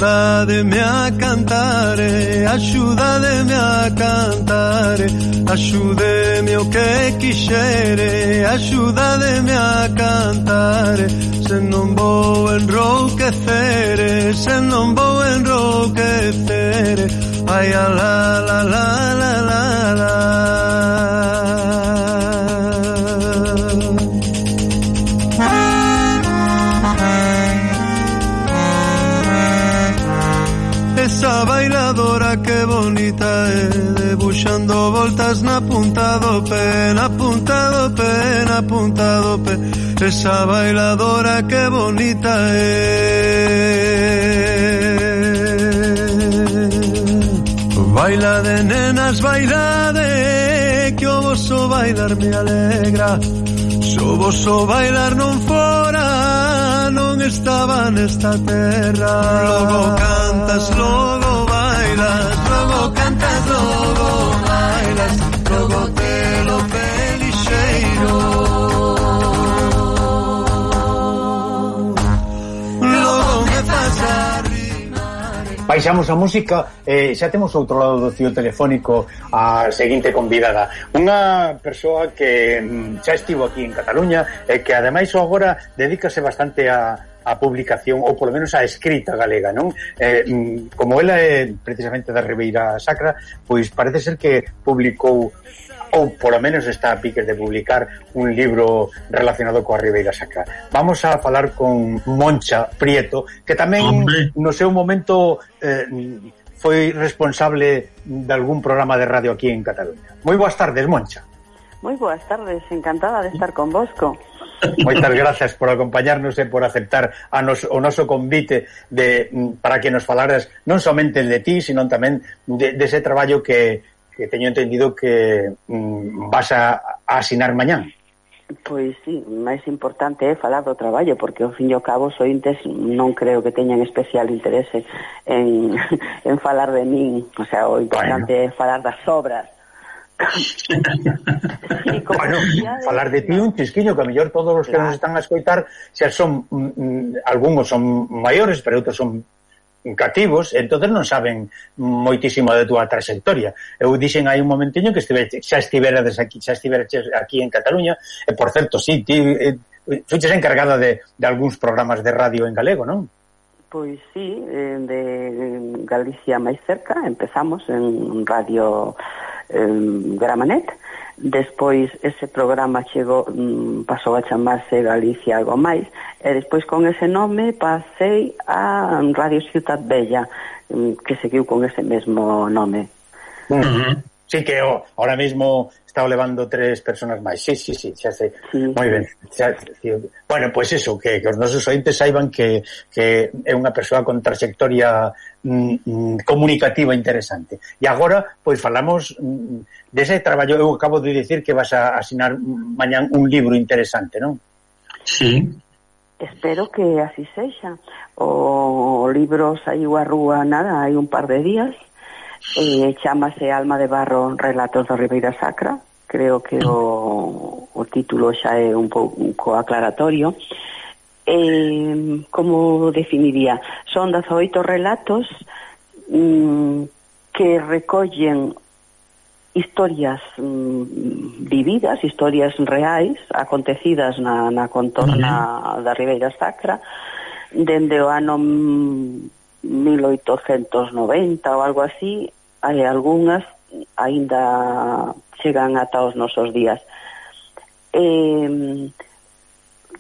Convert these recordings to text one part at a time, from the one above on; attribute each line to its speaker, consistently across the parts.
Speaker 1: axúdademe a cantare, axúdademe a cantare, axúdeme o que quixere, axúdademe a cantare, se non vou enrouquecere, se non vou enrouquecere, ai a la la la la la la. Esa bailadora que bonita é, debuxando voltas na punta do pé, na punta do pé, na punta do pé. Esa bailadora que bonita é. Baila de nenas, baila de, que o voso bailar me alegra. Se o voso bailar non fora, non estaba nesta terra. Logo cantas, logo bailas, logo cantas, logo bailas, logo te lo pelixeiro, logo me faz arrimar.
Speaker 2: Baixamos a música, xa temos outro lado do fío telefónico a seguinte convidada, unha persoa que xa estivo aquí en Cataluña e que ademais agora dedícase bastante a publicación, ou polo menos a escrita galega, non? Como ela é precisamente da Ribeira Sacra, pois parece ser que publicou, ou polo menos está a piques de publicar un libro relacionado coa Ribeira Sacra. Vamos a falar con Moncha Prieto, que tamén no seu momento foi responsable de algún programa de radio aquí en Cataluña. Moi boas tardes, Moncha.
Speaker 3: Moi boas tardes, encantada de estar con vosco.
Speaker 2: Moitas gracias por acompañarnos e por aceptar o noso convite para que nos falaras non somente de ti, sino tamén de ese traballo que teño entendido que vas a asinar mañán.
Speaker 3: Pois sí, máis importante é falar do traballo, porque ao fin e ao cabo os ointes non creo que teñan especial interese en falar de min, o sea, o importante é falar das obras.
Speaker 2: Sí, bueno, falar de ti un chisquiño, que a mellor todos os que nos están a escoitar xa son, algúns son maiores, pero outros son cativos, entonces non saben moitísimo de túa trayectoria. Eu dixen aí un momentiño que xa estiveras aquí en Cataluña, e por certo, sí, ti fuches encargada de algúns programas de radio en galego, non?
Speaker 3: Pois sí, de Galicia máis cerca, empezamos en Radio Gramanet, despois ese programa chegou, pasou a chamarse Galicia Algo Máis, e despois con ese nome pasei a Radio Ciutat Bella, que seguiu con ese mesmo nome.
Speaker 2: Sí, que ahora mismo está levando 3 personas máis. Sí, xa sei. Moi ben. Bueno, pois eso, que os nosos ointes saiban que é unha persoa con trayectoria comunicativa interesante. E agora, pois falamos dese traballo. Eu acabo de dicir que vas a asinar mañán un libro interesante, non?
Speaker 4: Sí.
Speaker 3: Espero que así sexa. O libro saiu a rúa nada, hai un par de días. Chámase Alma de Barro, Relatos da Ribeira Sacra. Creo que o título xa é un pouco aclaratorio. Como definiría? Son 18 relatos que recollen historias vividas, historias reais, acontecidas na contorna da Ribeira Sacra, dende o ano 1890 ou algo así. Hai algunhas aínda chegan ata os nosos días.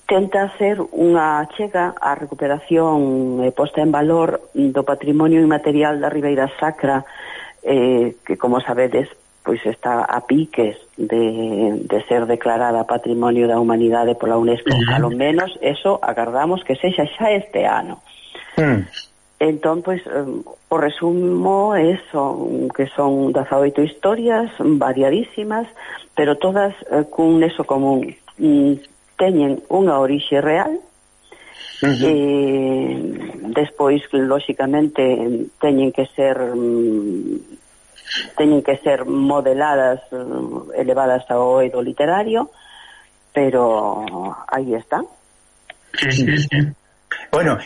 Speaker 3: Tenta ser unha chega á recuperación e posta en valor do patrimonio inmaterial da Ribeira Sacra, que, como sabedes, pois está a piques de ser declarada Patrimonio da Humanidade pola UNESCO. Ao menos eso agardamos que sexa xa este ano. Entón, pois, o resumo é eso, que son 18 historias variadísimas, pero todas cun nexo común. Teñen unha orixe real, despois, lóxicamente, teñen que ser modeladas, elevadas ao eido literario, pero aí está.
Speaker 2: Bueno,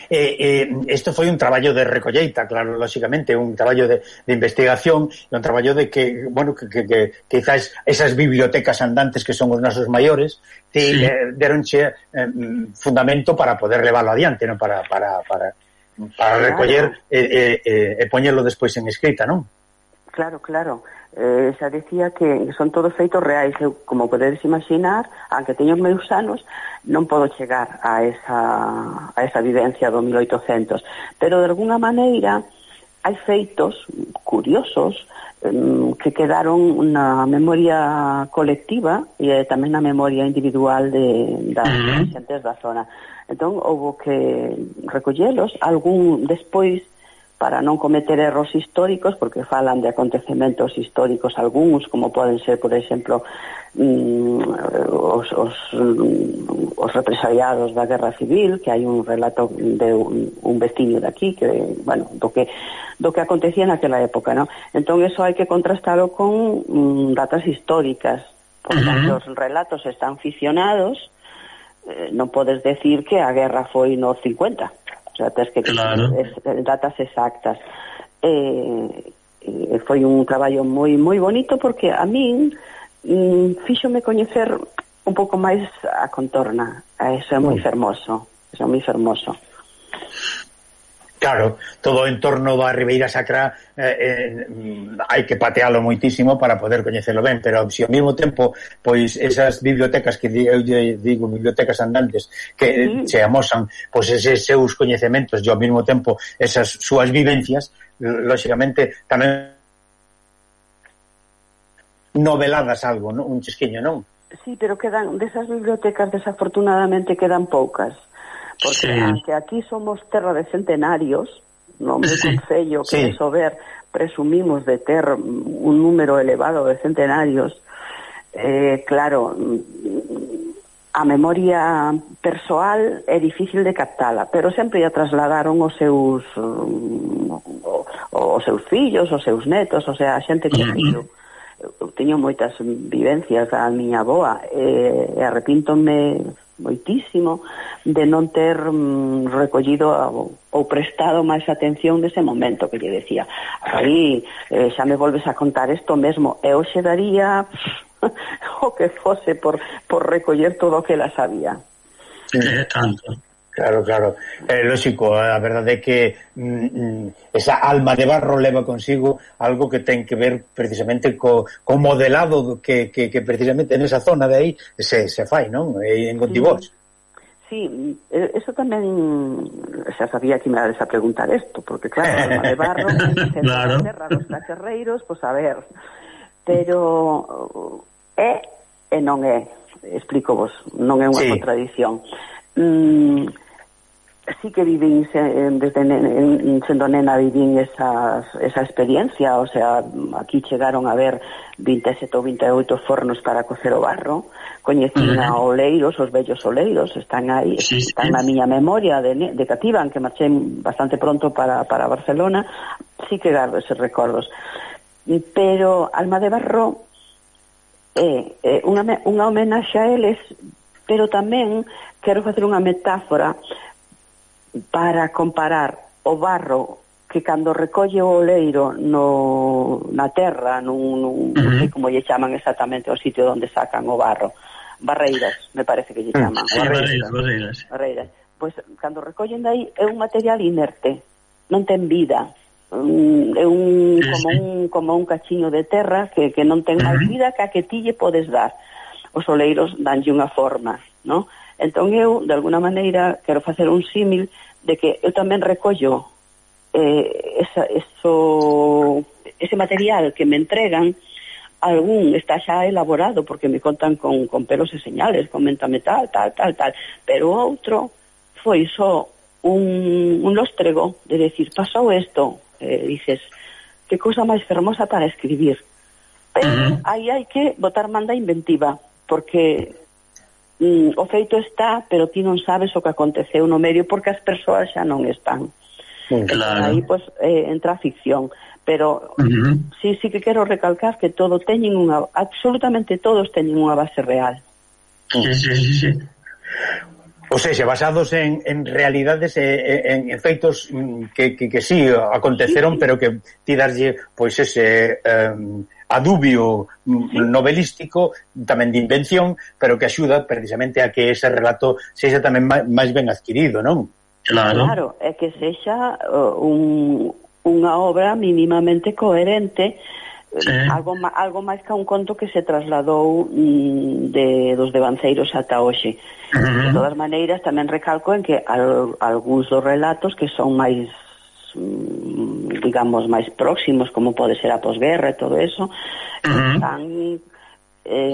Speaker 2: isto foi un traballo de recolleita, claro, lógicamente, un traballo de investigación, un traballo de que, bueno, que quizás esas bibliotecas andantes que son os nosos maiores, deronche fundamento para poder leválo adiante, non? Para recoller e poñerlo despois en escrita, non?
Speaker 3: Claro. Xa decía que son todos feitos reais. Eu, como podedes imaginar, aunque teño meus anos, non podo chegar a esa vivencia do 1800, pero de alguna maneira hai feitos curiosos que quedaron na memoria colectiva e tamén na memoria individual das xentes da zona. Entón, houve que recollelos, algún despois, para non cometer erros históricos, porque falan de acontecementos históricos algúns, como poden ser, por exemplo, os represaliados da Guerra Civil, que hai un relato de un veciño de aquí, que, bueno, do que acontecía naquela época, ¿no? Entón, eso hai que contrastalo con datas históricas, porque os relatos están ficcionados, non podes decir que a guerra foi no 50, o sea, tens que datas exactas. Foi un traballo moi moi bonito, porque a min fíxome coñecer un pouco máis a contorna. Eso é moi fermoso.
Speaker 2: Claro, todo o entorno da Ribeira Sacra hai que patealo moitísimo para poder coñecelo ben, pero se ao mesmo tempo, pois esas bibliotecas que eu digo, bibliotecas andantes, que se amosan pois eses seus coñecementos e ao mesmo tempo esas súas vivencias, lógicamente tamén noveladas algo, non? Un chisquiño, non?
Speaker 3: Sí, pero quedan desas bibliotecas, desafortunadamente quedan poucas. Porque aunque aquí somos terra de centenarios, no meu concello que de Sober presumimos de ter un número elevado de centenarios, claro, a memoria persoal é difícil de captala, pero sempre a trasladaron os seus fillos, os seus netos, o sea, a xente que eu teño moitas vivencias da miña avoa, e arrepíntome moitísimo de non ter recollido ou prestado máis atención nese momento, que lle decía aí, xa me volves a contar isto mesmo, e hoxe daría o que fose por recoller todo o que la sabía.
Speaker 2: Tanto. Claro, lógico, a verdade é que esa alma de barro leva consigo algo que ten que ver precisamente co modelado que precisamente en esa zona de aí se fai, non? En Gontibós.
Speaker 3: Sí, eso tamén xa sabía que me dades a preguntar isto, porque claro, alma de barro claro. Terra dos cacherreiros, pois a ver, pero é e non é, explico vos, non é unha contradición. Sí que vivín desde sendo nena, vivín esa experiencia, o sea, aquí chegaron a ver 27 ou 28 fornos para cocer o barro, coñecín a oleiros, os vellos oleiros, están aí, están na miña memoria de cativa, que marchei bastante pronto para Barcelona, sí que gardo eses recordos. Pero Alma de Barro é unha homenaxe a eles, pero tamén quero facer unha metáfora para comparar o barro que cando recolle o oleiro na terra, non sei como lle chaman exactamente o sitio onde sacan o barro, barreiras, me parece que lle chaman. Barreiras. Pois cando recollen dai é un material inerte, non ten vida, é como un cachiño de terra que non ten máis vida que a que ti lle podes dar. Os oleiros danlle unha forma, non? Entón eu, de alguna maneira, quero facer un símil de que eu tamén recollo ese material que me entregan, algún está xa elaborado porque me contan con pelos e señales, coméntame tal, pero o outro foi só un lóstrego de decir, pasou isto, dices, que cousa máis fermosa para escribir, pero aí hai que botar manda inventiva, porque o feito está, pero ti non sabes o que aconteceu no medio porque as persoas xa non están. Claro. Aí pois entra a ficción, pero sí que quero recalcar que todo teñen absolutamente todos teñen unha base real.
Speaker 2: Sí. O sea, basados en realidades en feitos que sí aconteceron, sí. Pero que ti darlle pois ese adubio novelístico, tamén de invención, pero que axuda precisamente a que ese relato sexa tamén máis ben adquirido, non?
Speaker 3: Claro, é que sexa unha obra mínimamente coherente, sí. algo máis que un conto que se trasladou dos devanceiros ata hoxe. De todas maneiras, tamén recalco en que algúns dos relatos que son máis digamos, máis próximos, como pode ser a posguerra e todo eso, están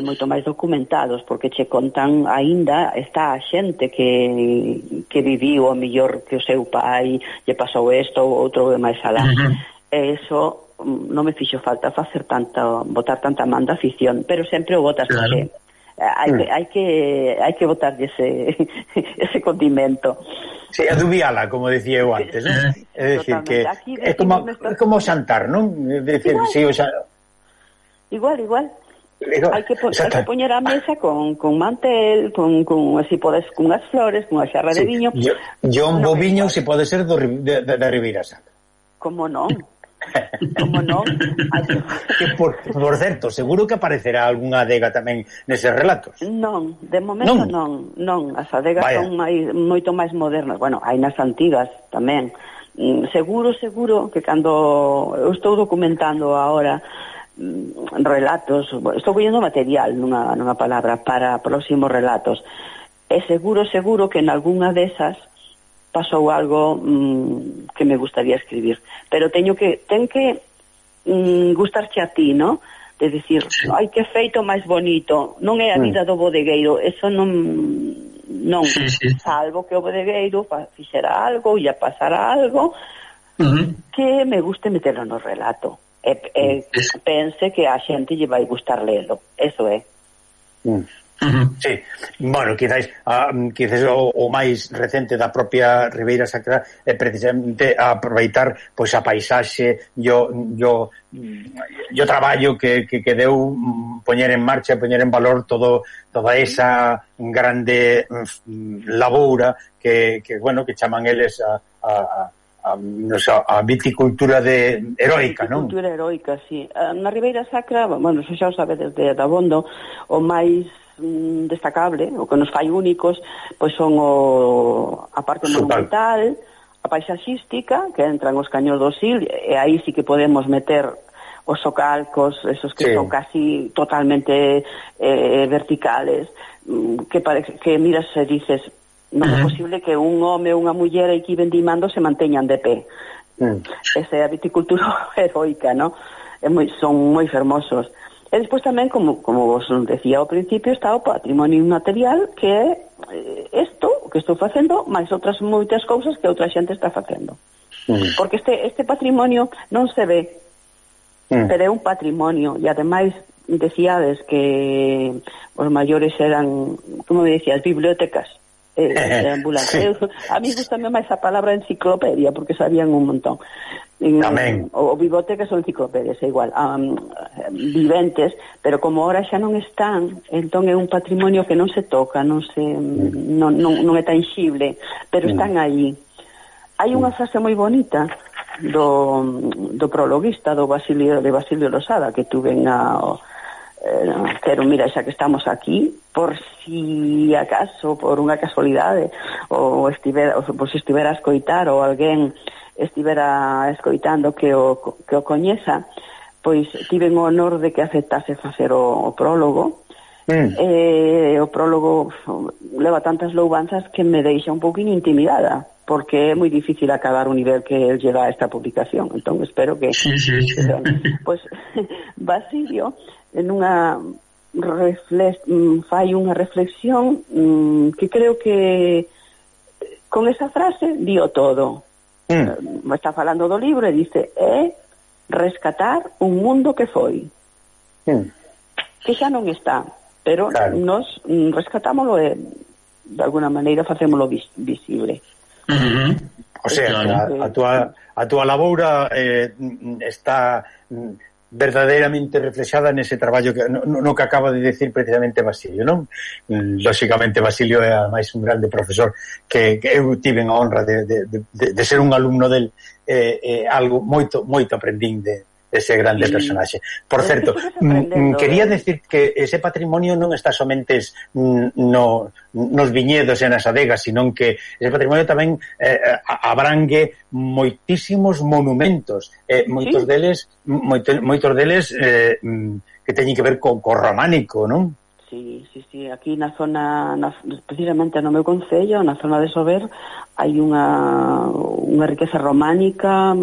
Speaker 3: moito máis documentados, porque che contan aínda, está a xente que viviu o mellor que o seu pai lle pasou isto ou outro máis alá. E eso non me fixo falta botar tanta man da afición, pero sempre o botas, claro. Hai que botar ese condimento.
Speaker 2: Sí, adubiala, como decía eu antes, ¿no? É dicir, que é como xantar, non?
Speaker 3: Igual. Hai que poñer a mesa con mantel, con así podes, con as flores, con a xarra de viño.
Speaker 2: Un bo viño se pode ser da Ribeira Sacra.
Speaker 3: Como non? Como non?
Speaker 2: Que por certo, seguro que aparecerá algunha adega tamén neses relatos.
Speaker 3: Non, de momento non. As adegas son moito máis modernas. Bueno, hai nas antigas tamén. Seguro que cando eu estou documentando agora relatos, estou collendo material nunha palabra para próximos relatos, e seguro que en algunha desas pasou algo que me gustaría escribir, pero ten que gustarche a ti, ¿no? De dicir, ai, que feito máis bonito, non é a vida do bodegueiro, eso non salvo que o bodegueiro fixera algo, ia pasara algo que me guste meterlo no relato. Pense que a xente lle vai gustar lelo, eso é.
Speaker 2: Sí, bueno, quizás o máis recente da propia Ribeira Sacra é precisamente aproveitar pois a paisaxe e o traballo que deu poñer en marcha, poñer en valor toda esa grande laboura que chaman eles a viticultura heroica, non?
Speaker 3: Viticultura heroica, sí. Na Ribeira Sacra, bueno, xa o sabe desde Dabondo, o máis destacable, o que nos fai únicos, pois son a parte monumental, a paisaxística, que entran os caños do Sil, e aí sí que podemos meter os socalcos, esos que son casi totalmente verticales, que miras e dices, non é posible que un home ou unha muller aquí vendimando se manteñan de pé. Esa é a viticultura heroica, ¿no? Son moi fermosos. E despois tamén, como vos decía ao principio, está o patrimonio inmaterial, que é isto que estou facendo, máis outras moitas cousas que outra xente está facendo. Porque este patrimonio non se ve, pero é un patrimonio, e ademais decíades que os maiores eran, como me decías, bibliotecas, ambulantes. A mí gustame máis a palabra enciclopedia, porque sabían un montón. O bibliotecas ou enciclopedias é igual, viventes, pero como ahora xa non están, entón é un patrimonio que non se toca, non é tangible, pero están aí. Hai unha frase moi bonita do prologuista de Basilio Losada, que tuven pero mira, xa que estamos aquí, por si acaso, por unha casualidade, ou estivera a escoitar, ou alguén estivera escoitando que o coñeza, pois tiven o honor de que aceptase facer o prólogo. O prólogo leva tantas loubanzas que me deixa un pouquinho intimidada, porque é moi difícil acabar o nivel que el lleva a esta publicación. Entón espero que pois Basilio en unha fai unha reflexión que creo que con esa frase dio todo. Está falando do libro e dice, é rescatar un mundo que foi, que xa non está, pero nos rescatámoslo e de alguna maneira facémoslo visible.
Speaker 2: O sea, a túa laboura está verdadeiramente reflexada nese traballo que, no que acaba de decir precisamente Basilio, non? Lóxicamente Basilio é ademais un grande profesor que eu tive a honra de ser un alumno del, algo moito aprendín ese grande personaxe. Por certo, quería decir que ese patrimonio non está somente nos viñedos e nas adegas, sino que ese patrimonio tamén abrangue moitísimos monumentos, moitos deles que teñen que ver co románico, non?
Speaker 3: Sí, aquí na zona, precisamente no meu concello, na zona de Sober, hai unha riqueza románica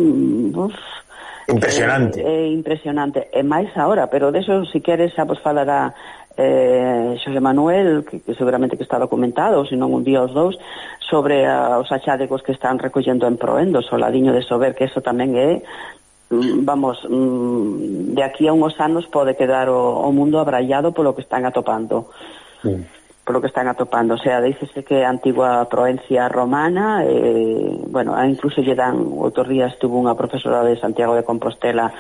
Speaker 3: impresionante. Impresionante. E máis ahora, pero deso, se queres, xa vos falará Xosé Manuel, que seguramente que está documentado, se non un día os dous, sobre os achádegos que están recollendo en Proendos, o ladiño de Sober, que eso tamén é, de aquí a unhos anos pode quedar o mundo abrallado polo que están atopando. Polo que están atopando, o sea, dícese que a antigua Proencia romana, bueno, incluso lle dan, outros días tuvo unha profesora de Santiago de Compostela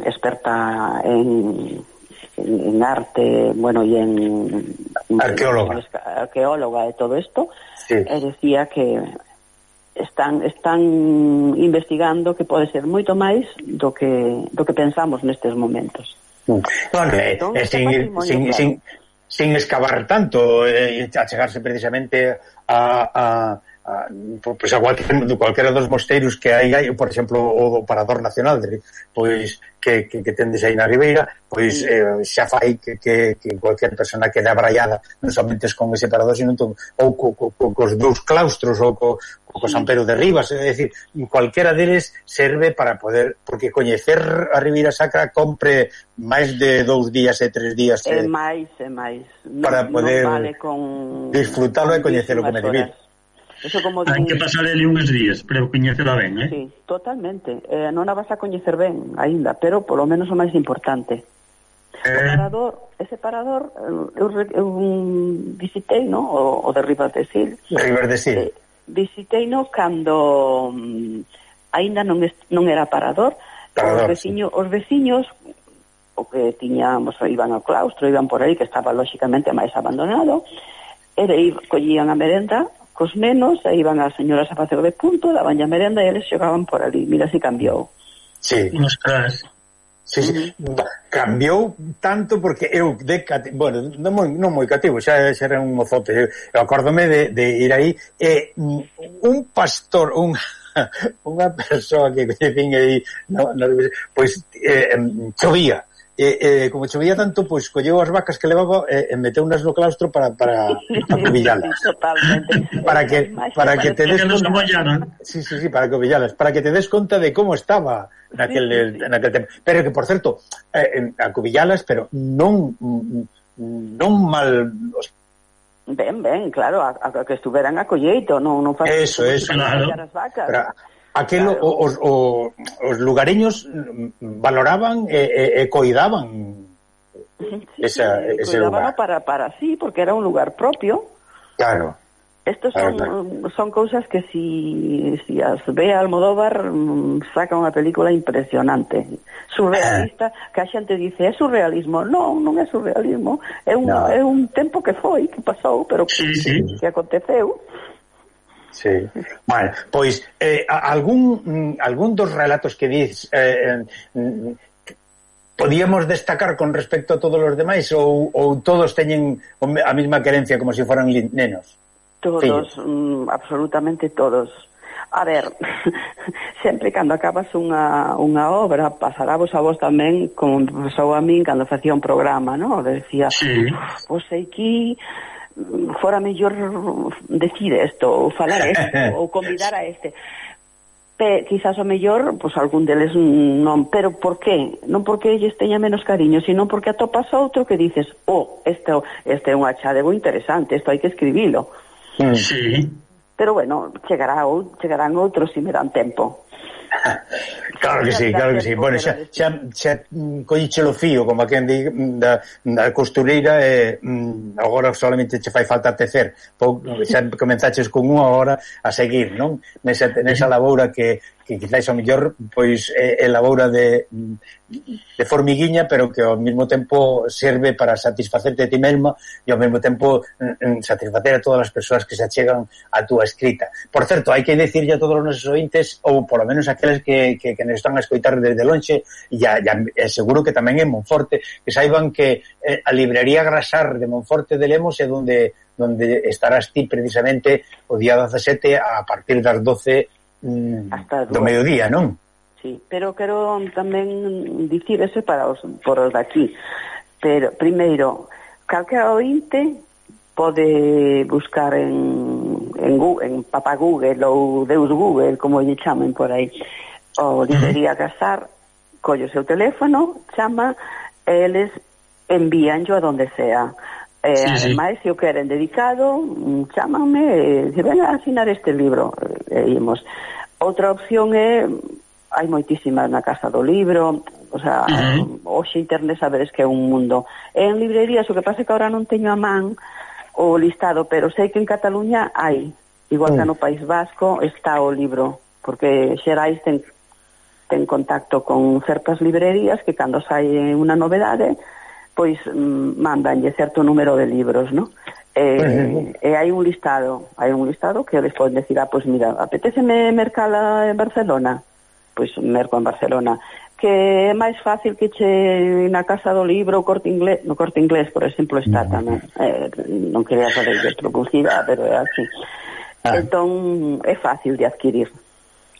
Speaker 3: experta en arte, bueno, y en arqueóloga de todo esto, sí. Decía que están investigando que pode ser moito máis do que pensamos nestes momentos.
Speaker 2: Bueno, sin excavar tanto, a chegarse precisamente a cualquera dos mosteiros que hai, por exemplo, o Parador Nacional, pois que tendes aí na Ribeira, pois xa fai que cualquier persona quede abraiada non somente con ese parador, sino ou cos dous claustros ou co San Pedro de Ribas, é dicir, cualquera deles serve para poder, porque coñecer a Ribeira Sacra compre máis de 2 días e 3 días
Speaker 3: máis
Speaker 2: para poder
Speaker 3: vale
Speaker 2: disfrutalo e coñecelo como debir.
Speaker 4: Hai que pasar ali uns días para coñecela ben,
Speaker 3: Sí, totalmente. Non a vas a coñecer ben aínda, pero polo menos o máis importante. Ese parador eu visitei, no? O de Ribas de Sil. Visitei no cando aínda non era parador. Os veciños o que tiñamos, iban ao claustro, iban por aí, que estaba lóxicamente máis abandonado, collían a merenda cos nenos, e iban as señoras a facer de punto, daban a merenda e eles xogaban por ali. Mira, si cambiou.
Speaker 2: Sí. Sí. Cambiou tanto porque eu bueno, non moi cativo, xa era un mozote. Eu acórdome de ir aí e un pastor, unha persoa que coñecín aí, pois chovía. Como chovía tanto, pois colleu as vacas que levaba e meteunas no claustro para acubillalas.
Speaker 3: Totalmente.
Speaker 2: Para que te des conta. Sí, para acubillalas, para que te des conta de como estaba naquel tempo. Pero que, por certo, acubillalas, pero non mal.
Speaker 3: Ben, claro, a que estuveran a colleito, non faz
Speaker 2: eso, claro.
Speaker 3: As vacas.
Speaker 2: Pero aquelo, claro. Os lugareños valoraban e coidaban ese lugar.
Speaker 3: Para sí, porque era un lugar propio.
Speaker 2: Claro.
Speaker 3: Estos son cousas que si as ve Almodóvar saca unha película impresionante, surrealista, que a xente dice, é surrealismo. Non é surrealismo, é un tempo que foi, que pasou, pero que aconteceu.
Speaker 2: Sí. Bueno, pois algún dos relatos que dis podíamos destacar con respecto a todos os demais ou todos teñen a mesma querencia como se foran nenos?
Speaker 3: Todos, absolutamente todos. A ver, sempre cando acabas unha obra, pasarábos a vos tamén, como pasou a min cando facía un programa, non? Decía, pois aquí fora mellor decir isto, ou falar isto, ou convidar a este. Quizás o mellor, pois algún deles non, pero por qué? Non porque lles teña menos cariño, sino porque atopas outro que dices, este é un achadego interesante, isto hai que escribilo.
Speaker 4: Sí.
Speaker 3: Pero bueno, chegarán outros se me dan tempo.
Speaker 2: Claro que sí. Bueno, xa colliche o fío, como quen di, da costureira, e agora solamente che fai falta tecer. Xa comenzaches con unha hora a seguir, non? Nesa laboura que que quizás ao mellor pois elabora de formiguiña, pero que ao mesmo tempo serve para satisfacerte a ti mesma e ao mesmo tempo satisfacer a todas as persoas que se achegan a túa escrita. Por certo, hai que decirlle a todos os nosos ointes, ou polo menos aqueles que nos están a escoitar desde lonxe, e seguro que tamén en Monforte, que saiban que a librería Grasar de Monforte de Lemos é donde estarás ti precisamente o día 17 a partir das 12 do mediodía, non?
Speaker 3: Sí, pero quero tamén dicir ese por os daqui. Pero, primeiro, calquera ointe pode buscar en Papá Google ou Deus Google, como lle chamen por aí, o librería Grasar, colle o seu teléfono, chama, e eles envíanlo a donde sea. Ademais, se o queren dedicado, chámanme e se ven a asinar este libro, imos. Outra opción é, hai moitísimas na Casa do Libro, o sea, hoxe internet sabedes que é un mundo. En librerías, o que pasa é que agora non teño a man o listado, pero sei que en Cataluña hai, igual que no País Vasco está o libro, porque Xerais ten contacto con certas librerías que cando sai unha novedade pois mandanlle certo número de libros, ¿no? E hai un listado que eles poden decir, pois mira, apetéceme mercala en Barcelona, pois merco en Barcelona, que é máis fácil que che na Casa do Libro, no Corte Inglés, por exemplo, está tamén, non quería fazer de publicidade, pero é así. Entón é fácil de adquirir.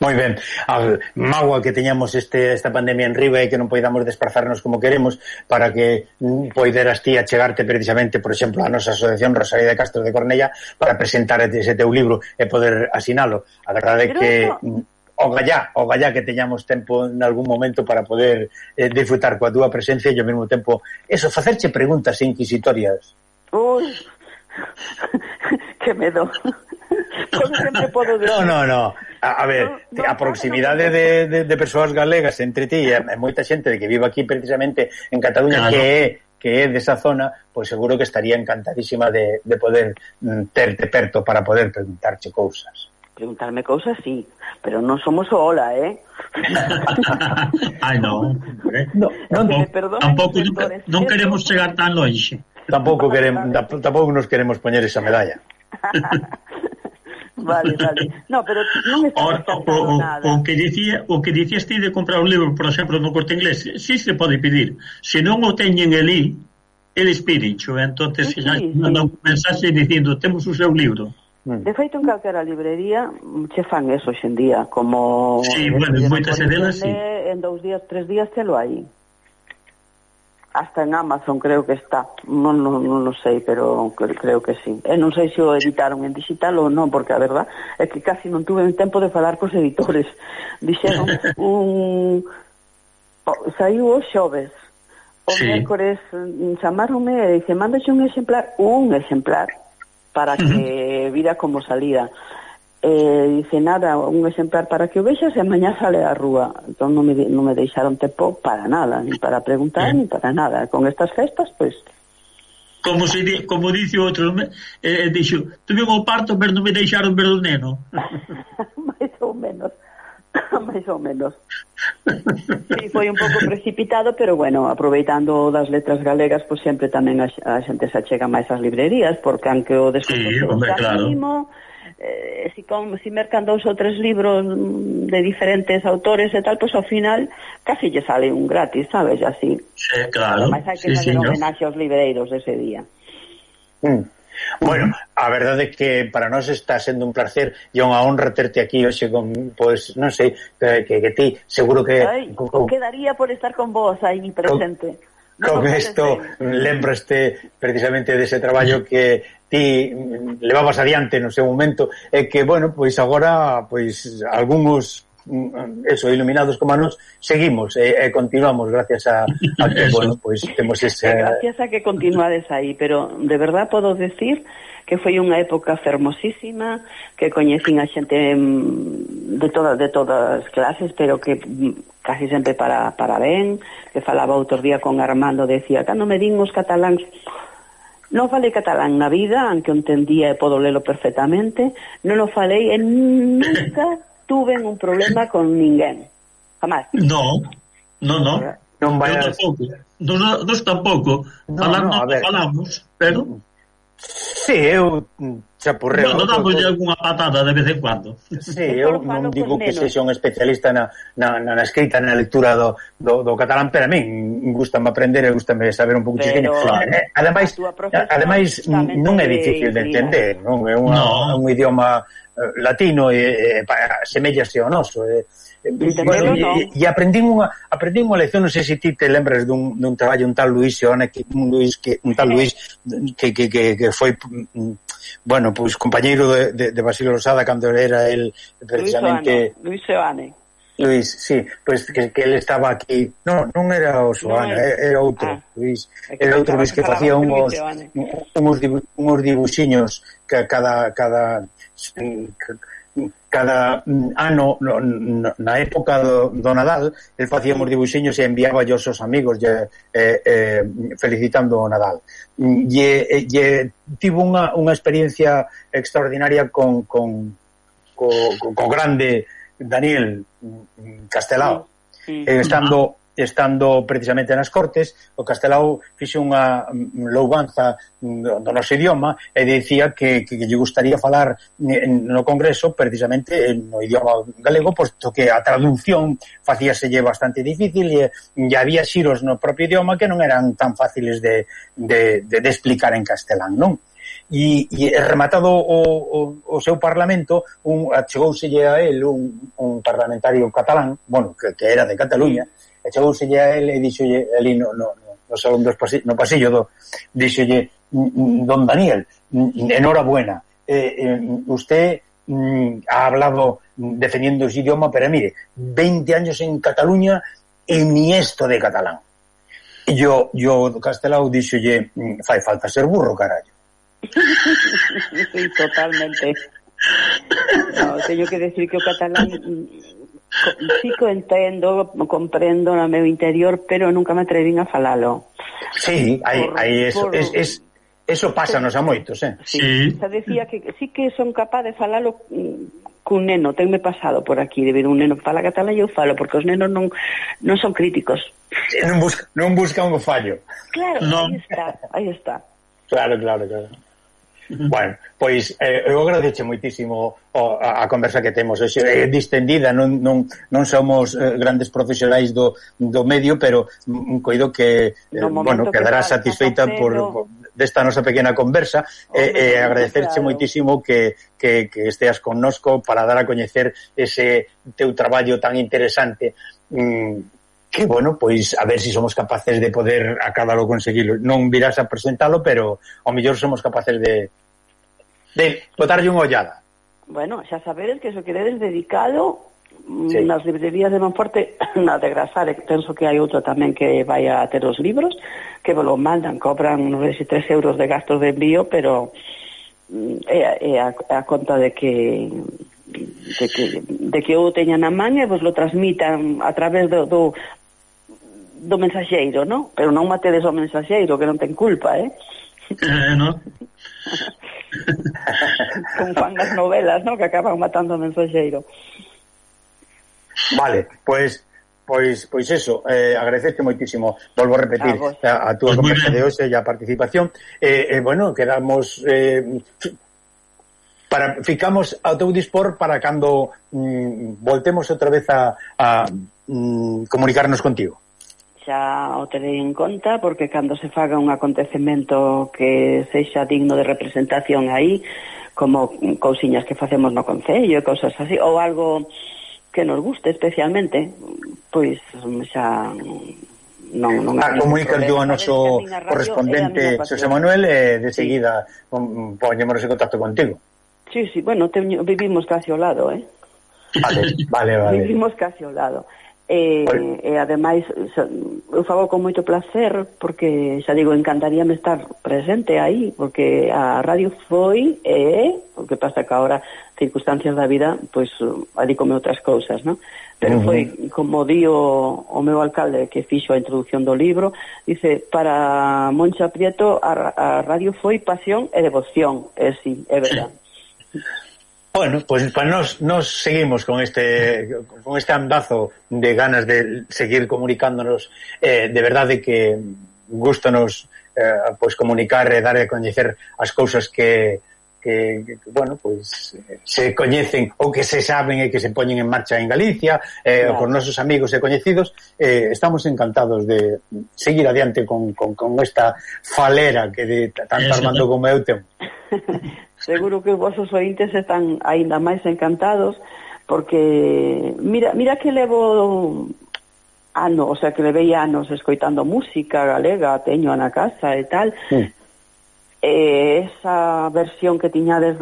Speaker 2: Moi ben, a mágoa que teñamos esta pandemia en riba e que non poidamos desplazarnos como queremos para que poideras ti achegarte precisamente, por exemplo, a nosa asociación Rosalía de Castro de Cornella para presentar ese teu libro e poder asinalo. A verdade é que o gallá que teñamos tempo en algún momento para poder disfrutar coa túa presencia e ao mesmo tempo facerche preguntas inquisitorias.
Speaker 3: Ui, que medo.
Speaker 2: No. A ver, a proximidade de persoas galegas entre ti e moita xente de que vive aquí precisamente en Cataluña, claro, que é desa zona, pois seguro que estaría encantadísima de poder terte perto para poder preguntarche cousas.
Speaker 3: Preguntarme cousas, sí, pero non somos o hola,
Speaker 4: Ai, non. Tampouco non queremos chegar tan longe.
Speaker 2: Tampouco nos queremos poñer esa medalla.
Speaker 3: Vale. No, pero non está nada.
Speaker 4: O que dicías ti de comprar un libro, por exemplo, no Corte Inglés, sí se pode pedir. Se non o teñen elí, eles pídencho, entonces mandan un mensaxe dicindo, temos o seu libro.
Speaker 3: De feito, en calquera librería che fan eso hoxendía, como
Speaker 4: moitas delas, sí.
Speaker 3: En 2 días, 3 días telo aí. Hasta en Amazon creo que está, non sei, pero creo que sí. E non sei se o editaron en digital ou non, porque a verdad é que casi non tuve tempo de falar cos editores. Dixeron saiu os xoves, o mércores chamaronme e dixe, mándaxe un exemplar para que vira como salida. Dice, nada, un exemplar para que o vexas e mañá sale á rúa. Entón non me deixaron tempo para nada, ni para preguntar, ni para nada. Con estas festas, pois...
Speaker 4: Como dice outro, dixo, tuve o parto, pero non me deixaron ver o neno.
Speaker 3: Mais ou menos. Sí, foi un pouco precipitado, pero bueno, aproveitando das letras galegas, pois sempre tamén a xente se achega máis ás librerías, porque aunque o desconto mínimo... si mercan 2 ou 3 libros de diferentes autores e tal, pois ao final casi lle sale un gratis, sabes, así.
Speaker 4: Sí, claro.
Speaker 3: Mas hai que fazer homenaxe aos libreiros ese día.
Speaker 2: Bueno, a verdade é que para nós está sendo un placer e unha honra terte aquí hoxe con, pois, non sei, que ti seguro que...
Speaker 3: quedaría por estar con vos aí presente.
Speaker 2: Con isto lembro precisamente dese traballo que ti levabas adiante no seu momento e que, bueno, pois agora pois algúns iluminados como a nos seguimos e continuamos gracias a que, bueno, pois temos ese...
Speaker 3: Gracias a que continuades aí, pero de verdad podo decir que foi unha época fermosísima, que coñecín a xente de todas clases, pero que casi sempre para ben, que falaba outro día con Armando, decía, cando me din os cataláns, non falei catalán na vida, aunque o entendía e podo lelo perfectamente, non o falei e nunca tuven un problema con ninguén. Jamás.
Speaker 4: No.
Speaker 2: Non vai a...
Speaker 4: Nos tampouco. Falamos, pero...
Speaker 2: Sí, eu chapurreo.
Speaker 4: Bueno, dámoslle algunha patada de vez en cuando.
Speaker 2: Sí, eu non digo que sexa un especialista na escrita, na lectura do catalán, pero a min gustame aprender e gustame saber un pouco chiquinho. Ademais, non é difícil de entender, non? É un idioma latino e semellase ao noso. E aprendín unha lección, non sei se ti te lembras dun traballo un tal Luis Seoane, un tal Luis que foi pois compañeiro de Basilio Losada cando era el precisamente
Speaker 3: Luis Seoane.
Speaker 2: Luis, sí, pois que ele estaba aquí. Non era o Seoane, era outro Luis. Era outro Luis que facía uns dibuxiños que cada ano na época do Nadal el facía uns dibuxiños e enviaba aos seus amigos felicitando o Nadal e tivo unha experiencia extraordinaria con grande Daniel Castelao estando precisamente nas Cortes. O Castelao fixo unha louvanza do noso idioma e dicía que lle gustaría falar no Congreso precisamente no idioma galego, posto que a traducción facíaselle bastante difícil e había xiros no propio idioma que non eran tan fáciles de explicar en castelán, non? E rematado o seu parlamento achegouselle a él un parlamentario catalán, que era de Cataluña, achegouselle a él e dixolle ali no salón no pasillo dixolle: don Daniel, enhorabuena, usted ha hablado defendiendo su idioma, pero mire, 20 años en Cataluña e ni esto de catalán. E yo Castelao dixolle: fai falta ser burro, carallo.
Speaker 3: Sí, totalmente. No, teño que decir que o catalán sí que entendo, comprendo no meu interior, pero nunca me atrevín a falalo.
Speaker 2: Sí, eso pásanos a moitos,
Speaker 3: Sí. Se decía que sí que son capaz de falalo cun neno, tenme pasado por aquí de ver un neno que fala catalán e eu falo, porque os nenos non son críticos.
Speaker 2: Non buscan o fallo.
Speaker 3: Claro, no. Aí está.
Speaker 2: Claro. Bueno, pois eu agradeche moitísimo a conversa que temos hoxe, distendida, non somos grandes profesionais do medio, pero coido que quedará satisfeita por desta nosa pequena conversa e agradecerche moitísimo que esteas connosco para dar a coñecer ese teu traballo tan interesante, que, pois a ver se somos capaces de poder acabalo conseguilo. Non virás a presentalo, pero ao mellor somos capaces de botarlle unha ollada.
Speaker 3: Bueno, xa sabedes que se queredes dedicado nas librerías de Monforte, na de Grasare, penso que hai outro tamén que vai a ter os libros, que vos lo mandan, cobran, non sei, 3 euros de gastos de envío, pero é a conta de que eu teña na man e vos lo transmitan a través do mensaxeiro, non? Pero non matedes o mensaxeiro, que non ten culpa,
Speaker 4: non?
Speaker 3: Con fan das novelas, non? Que acaban matando o mensaxeiro.
Speaker 2: Vale, pois eso, agradecerte moitísimo, volvo a repetir a túa conversa de hoxe e a participación, quedamos ficamos ao teu dispor para cando voltemos outra vez a comunicarnos contigo.
Speaker 3: Xa o terei en conta, porque cando se faga un acontecemento que sexa digno de representación aí, como cousiñas que facemos no concello, cousas así, ou algo que nos guste especialmente, pois xa non
Speaker 2: comunicar yo a noso correspondente Xosé Manuel e de seguida poñémonos en contacto contigo.
Speaker 3: Sí, vivimos casi ao lado,
Speaker 2: Vale.
Speaker 3: Vivimos casi ao lado. E ademais eu fago con moito placer, porque xa digo, encantaríame estar presente aí, porque a radio foi o que pasa que agora circunstancias da vida pois adícome outras cousas, non? Pero foi como di o meu alcalde que fixo a introducción do libro, dice: para Moncha Prieto a radio foi pasión e devoción. Sí, é verdade.
Speaker 2: Bueno, pues nos seguimos con este andazo de ganas de seguir comunicándonos, de verdade que gústanos pues comunicar e dar a coñecer as cousas que bueno, pues se coñecen ou que se saben e que se poñen en marcha en Galicia, claro, por nosos amigos e coñecidos. Estamos encantados de seguir adiante con esta falera que tanto Armando como eu temos.
Speaker 3: Seguro que os vosos ointes están aínda máis encantados, porque mira que levo anos, o sea, que levei anos escoitando música galega, teño na casa e tal. Esa versión que tiñades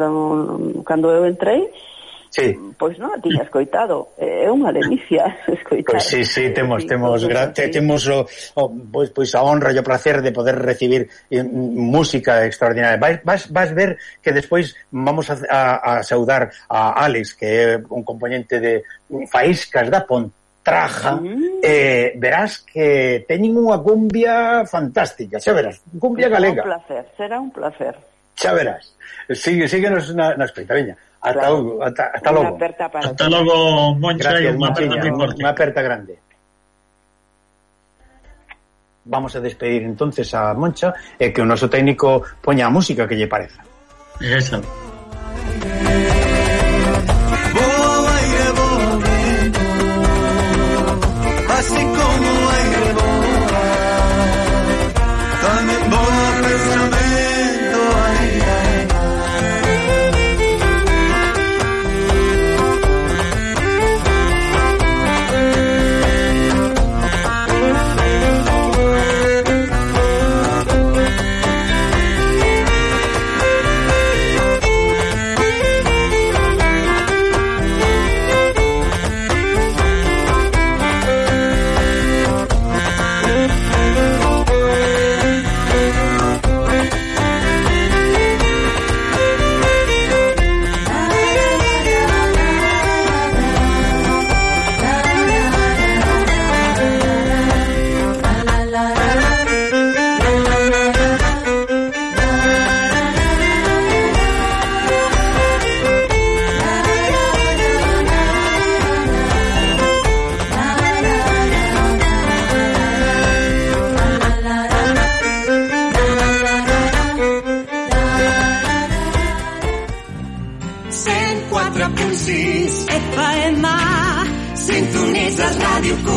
Speaker 3: cando eu entrei, sí, pois non a tiña escoitado. É unha delicia escoitar.
Speaker 2: Pois sí, temos pois a honra e o placer de poder recibir música extraordinaria. Vas ver que despois vamos a saudar a Alex, que é un componente de Faíscas da Pontraja. Verás que teñen unha cumbia fantástica, xa verás, cumbia galega.
Speaker 3: Será un placer.
Speaker 2: Xa verás. Síguenos na escoita, veña. Hasta logo.
Speaker 4: Hasta logo, Moncha.
Speaker 2: Gracias, unha aperta grande. Vamos a despedir entonces a Moncha e que o noso técnico poña a música que lle pareza.
Speaker 4: Esa.
Speaker 1: Así como aire voa, tamén voa pensamento, ai, ai.
Speaker 5: FM, sintonitzes Ràdio Cor